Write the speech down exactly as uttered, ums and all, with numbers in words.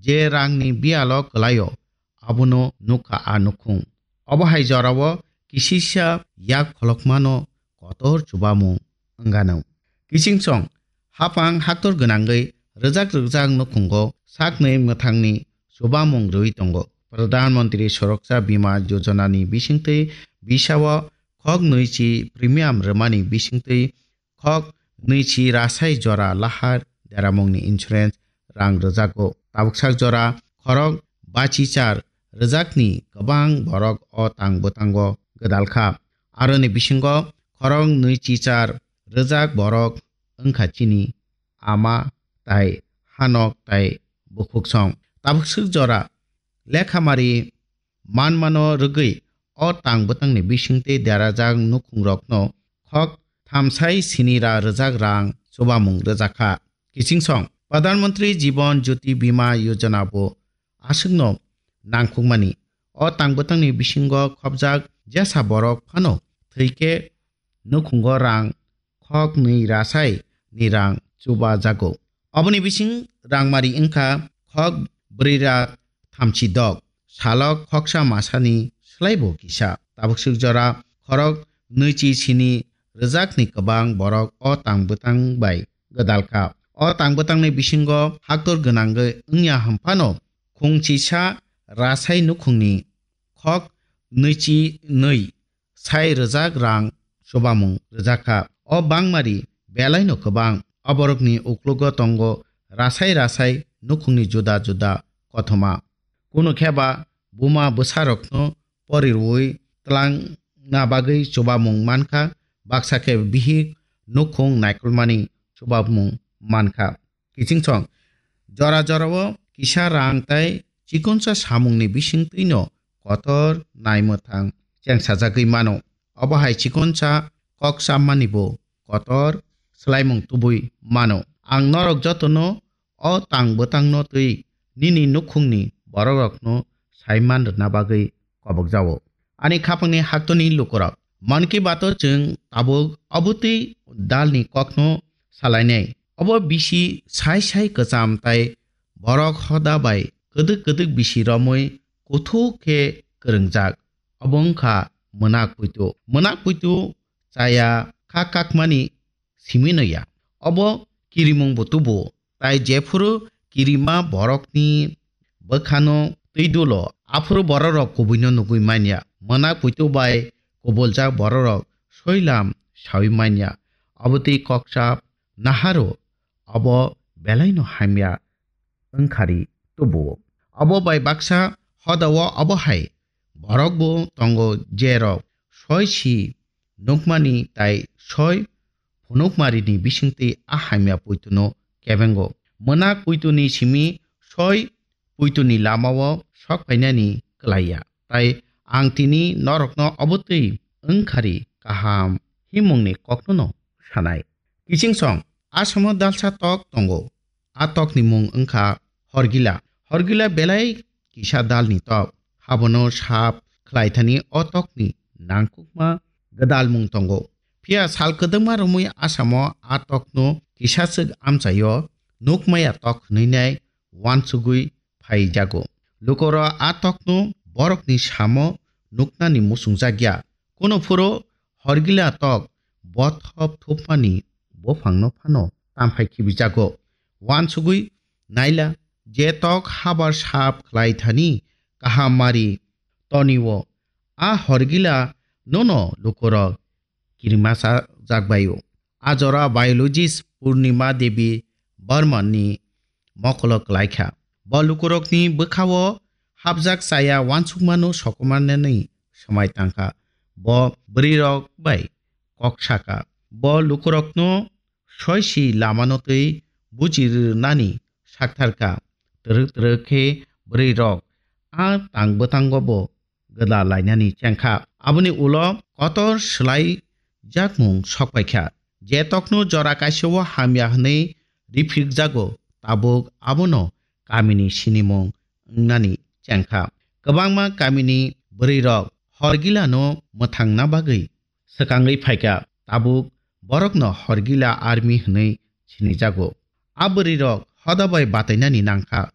je rangni biyalo kwlaio, abono nukha a nukhung. Obo hai jorao kisisa yak kholokmano kotor chubamung wngano. Kiching song, hapang haktor gwnangwi rwjak rwjak nukhungo saknwi mwthangni chubamung rwui tongo. Pradhan Mantri Suraksha Bima Yojana ni bisingtwi bisao khok nwichi premium rwmani bisingtwi khok nwichi rasai jora lahar deramungni insurance rang rwjago. Tabuksak jora khorok bachi char rwjakni kwbang borok o tang bwtango gwdalkha. Aroni bisingo khorok nwichi char rwjak borok wngkha chini ama tai hanok tai bukhuksong. Tabuksak jora lekhamari manmano rwgwi o tang bwtangni bisingtwi derajak nukhungrokno khok thamsai sini ra rwjak rang chubamung rwjakha. Kiching song, Pradhan Mantri Jiban Jyoti Bima Yojana bo aswkno nangkukmani. O tang bwtangni bisingo khopjak jesa borok phano thwikhe nukhungo rang khok nwi rasai ni rang chuba jago. Oboni bising rangmari wngkha khok brwi ra thamchi dok, salok khoksa masani slaibo kisa. Tabuksuk jora khorok nwichi sini rwjakni kwbang borok o tang bwtang bai gwdalkha. O tang bwtangni bisingo haktor gwnangwi wngya hwnphano khungchisa rasai nukhungni khok nwichi nwi sai rwjak rang chubamung rwjakha. O bangmari belaino kwbang. Oborokni uklogo tongo rasai rasai nukhungni juda juda kothoma. Kunu khe ba buma bwsarokno pori rwui twlangna bagwi chubamung mankha, baksa khe bihik nukhung naikolmani chubamung mankha. Kiching song, jora jorao kisa rang tai chikonsa samungni bisingtwino kotor naimwthang chengsajagwi mano. Obo hai chikonsa kok chammani bo kotor swlaimung tubui mano. Ang norok jotono o tang bwtangno twi nini nukhungni borokrokno saiman rwna bagwi kobokjao. Ani khapangni haktoni lukurok, Mann Ki Bato chwng tabuk obotwi dalni kokno salainai. Obo bisi sai sai kwcham tai borok hoda bai kwdwk kwdwk bisi romwi kuthuk khe kwrwngjak. Obo wngkha mwnak puitu. Mwnak puitu chaya kha kakmani simi no ya. Obo kirimung bo tubu, tai jephuru kirima borokni bwkhano twi dulo, aphuru bororok kubuino nugwi manya. Mwnak puitu bai kubuljak bororok soilam sawi manya. Obo twi koksa naharo, obo belaino hamya wngkhari tubuo. Obo bai baksa hodao obo hai borok bo tongo, jerok soi si nukmani tai soi phunukmarini bisingtwi a hamya puituno kebengo. Mwnak puituni simi soi puituni lamao sok phainani kwlaiya. Tai ang tini norokno obotwi wngkhari kaham himungni koknono sanai. Kiching song, Asamo dalsa tok tongo. A tokni mung wngkha Horgila. Horgila belai kisa dalni tok. Habono sap khlaithani o tokni nangkukma gwdalmung tongo. Phiya sal kwdwkma romwi Asamo a tokno kisaswk amchaio nukmaya tok hwnwi nai uansugwi phaijago. Lukorok a tokno borokni samo nuknani muchungjakya. Kuno phuru Horgila tok bothop thupmani buphangno phano tamphai khibijago. Uansugwi naila je tok habar sap khlai thani kaham mari tonio, a Horgila nono lukorok kirima sajak baio. A jora biologist Purnima Devi Barman ni mokolo kwlaikha. Bo lukurokni bwkhao hapjak chaya uansukmano sokomornani swmai tangkha. Bo bwrwirok bai kok sakha. Bo lukurokno soisi lamano twi buji rwnani saktharkha. Twrwk twrwk khe bwrwirok a tang bwtango bo gwda lainani chengkha. Aboni ulo kotor swlai jakmung sokpaikha. Je tokno jora kaisao hamya hwnwi riphikjago, tabuk abono kamini sinimung wngnani chengkha. Kwbangma kamini bwrwirok Horgilano mwthangna bagwi swkangwi phaikha, tabuk borokno Horgila army hwnwi sinijago. A bwrwirok hoda bai batainani nangkha,